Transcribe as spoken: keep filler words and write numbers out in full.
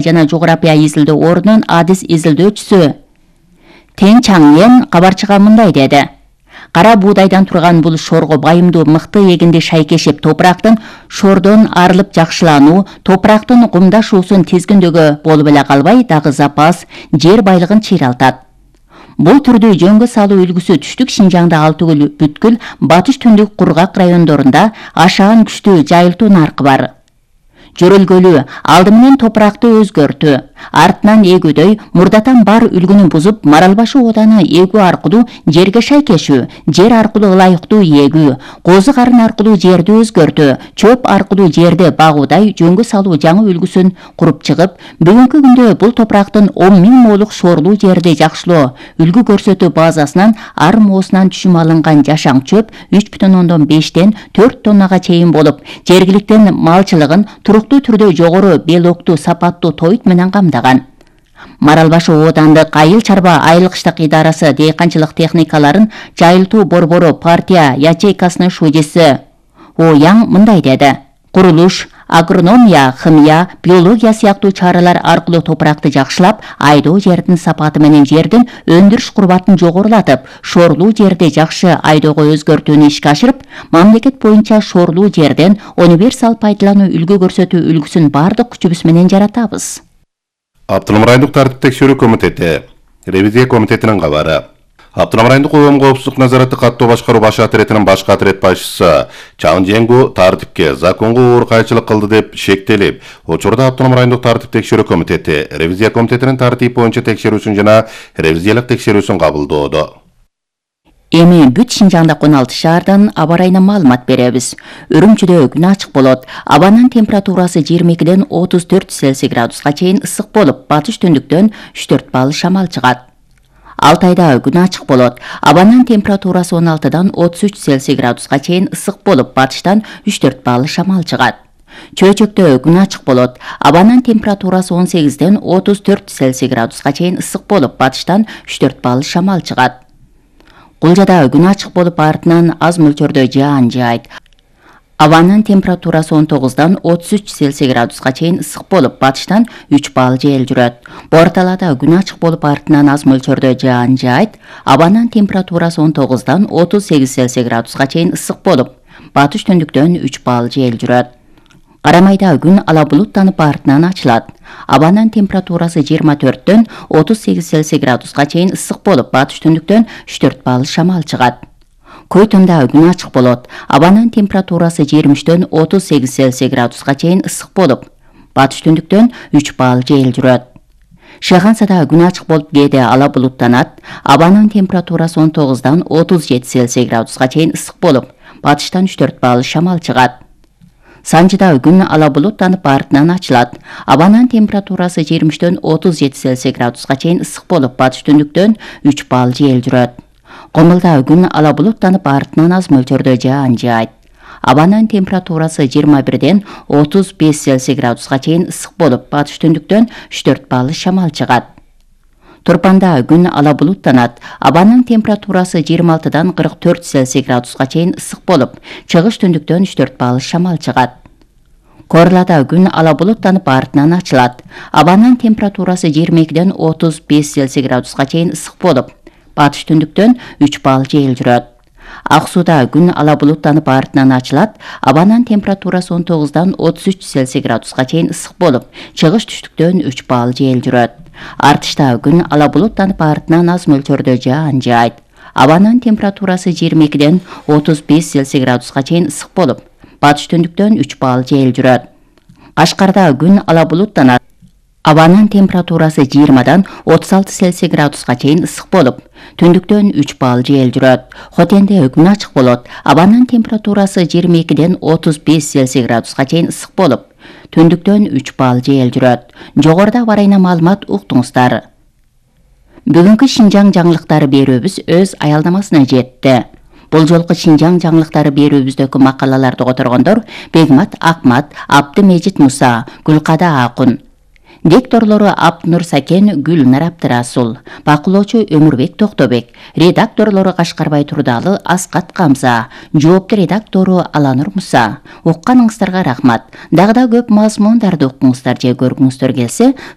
жана жогорапия изилдөө ордунун адис изилдөөчүсү Тең Чаңен кабарчыга мындай деди. Кара буудайдан турган бул шорго байымдуу мыкты эгинди шайкешип топурактын шордон арылып жакшылануу, топурактын кумдашуусун тизгиндөөгө болуп эле калбай, дагы запас жер байлыгын чыйралтат. Бул түрдүү жөнгө салуу үлгүсү түштүк Шинжаңда ал түгүл бүткүл батыш түндүк кургак райондорунда ашаан күчтүү жайылтуу наркы бар. Жөрөлгөлүү алды менен топуракты өзгөртүү, артынан эгүүдөй мурдатан бар үлгүнү бузуп, Маралбашы ооданы эгүү аркылуу жерге шайкешүү, жер аркылуу ылайыктуу эгүү, козу карын аркылуу жерди өзгөртүү, чөп аркылуу жерди багуудай жөнгө салуу жаңы үлгүсүн куруп чыгып, бүгүнкү күндө бул топурактын он миң молук шоорлуу жерди жакшылоо үлгү көрсөтүү базасынан ар моосунан түшүм алынган жашаң чөп үч бүтүн ондон бештен төрт тоннага чейин болуп, жергиликтин малчылыгын туруктуу түрдө жогору белоктуу сапаттуу тойт менен камдаган. Маралбашы оодандык айыл чарба айылкыштык идарасы дейканчылык техникаларын жайылтуу борбору партия ячейкасынын шудиси Ояң мындай деди. Курулуш, агрономия, химия, биология сыяктуу чаралар аркылуу топуракты жакшылап, айдоо жердин сапаты менен жердин өндүрүш курбатын жогорулатып, шоорлуу жерди жакшы айдоого өзгөртүүнү ишке ашырып, мамлекет боюнча шоорлуу жерден универсал пайдалануу үлгү көрсөтүү үлгүсүн бардык күчүбүз менен жаратабыз. Автоном райондук тартип текшерүү комитети, ревизия комитетинин кабары. Автоном райондук коом коопсуздук назараты каттоо башкаруу баш отретинин баш отрет башчысы Чаң Жеңгу тартипке законго оор кайчылык кылды деп шектелип, учурда Автоном райондук тартип текшерүү комитети ревизия комитетинин тартип боюнча текшерүүсүн жана ревизиялык текшерүүсүн кабылдоодо. Эми бүт Шинжаңдагы он алты шаардан аба ырайына маалымат беребиз. Үрүмчүдө күн ачык болот. Абанын температурасы жыйырма экиден отуз төрт Цельсий градуска чейин ысык болуп, батыш түндүктөн үч төрт балл шамал чыгат. Алтайда күн ачык болот. Абанын температурасы он алтыдан отуз үч Цельсий градуска чейин ысык болуп, батыштан үч төрт балл шамал чыгат. Чөйчөктө күн ачык болот. Абанын температурасы он сегизден отуз төрт Цельсий градуска чейин ысык болуп, батыштан үч төрт балл шамал чыгат. Кулжада күн ачык болуп, артынан аз мөлчөрдө жаан жаайт. Абанын температурасы он тогуздан отуз үч Цельсий градуска чейин ысык болуп, батыштан үч балл жел жүрөт. Борталада күн ачык болуп, артынан аз мөлчөрдө жаан жаайт. Абанын температурасы он тогуздан отуз сегиз Цельсий градуска чейин ысык болуп, батыш түндүктөн үч балл жел жүрөт. Карамайда күн ала булуттанып, артынан ачылат. Абанын температурасы жыйырма төрттөн отуз сегиз Цельсий градуска чейин ысык болуп, батыш түндүктөн үч төрт балл шамал чыгат. Көйтөндө күн ачык болот. Абанын температурасы жыйырма үчтөн отуз сегиз Цельсий градуска чейин ысык болуп, батыш түндүктөн үч балл жел жүрөт. Шыгансада күн ачык болуп, кээде ала булуттанат. Абанын температурасы он тогуздан отуз жети Цельсий градуска чейин ысык болуп, батыштан үч төрт балл шамал чыгат. Санжыда күн ала булуттанып, артынан ачылат. Абанын температурасы жыйырма үчтөн отуз жети Цельсий градуска чейин ысык болуп, батыш түндүктөн үч балл жел жүрөт. Комулда күн ала булуттанып, артынан аз мөлчөрдө жаан жаайт. Абанын температурасы жыйырма бирден отуз беш Цельсий градуска чейин ысык болуп, батыш түндүктөн үч төрт балл шамал чыгат. Турпанда күн ала булуттанат. Абанын температурасы жыйырма алтыдан кырк төрт Цельсий градуска чейин ысык болуп, чыгыш түндүктөн үч төрт балл шамал чыгат. Корлада күн ала булуттанып, артынан ачылат. Абанын температурасы жыйырма экиден отуз беш Цельсий градуска чейин ысык болуп, батыш түндүктөн үч балл жел жүрөт. Ак сууда күн ала булуттанып, артынан ачылат. Абанын температурасы он тогуздан отуз үч Цельсий градуска чейин ысык болуп, чыгыш түштүктөн үч балл жел жүрөт. Артышта күн ала булуттанып, артынан аз мөлчөрдө жаан жаайт. Абанын температурасы жыйырма экиден отуз беш Цельсий градуска чейин ысык болуп, батыш түндүктөн үч балл жел жүрөт. Кашкарда күн ала булуттанат. Абанын температурасы жыйырмадан отуз алты Цельсий градуска чейин ысык болуп, түндүктөн үч балл жел жүрөт. Хотенде күн ачык болот. Абанын температурасы жыйырма экиден отуз беш Цельсий градуска чейин ысык болуп, түндүктөн үч балл жел жүрөт. Жогоруда аба ырайына маалымат уктуңуздар. Бүгүнкү Шинжаң жаңылыктары берүүбүз өз аялдамасына жетти. Бул жолку Шинжаң жаңылыктары берүүбүздөгү макалаларды которгондор Бегмат Акмат, Абдымежит Муса, Гүлкада Акун. Дикторлору Апнур Сакен, Гүлнар Абдырасул, бакылоочу Өмүрбек Токтобек, редакторлору Кашкарбай Турдалы, Аскат Камза, жоопту редактору Аланур Муса. Укканыңыздарга рахмат. Дагы да көп мазмундарды укуңуздар же көргүңүздөр келсе,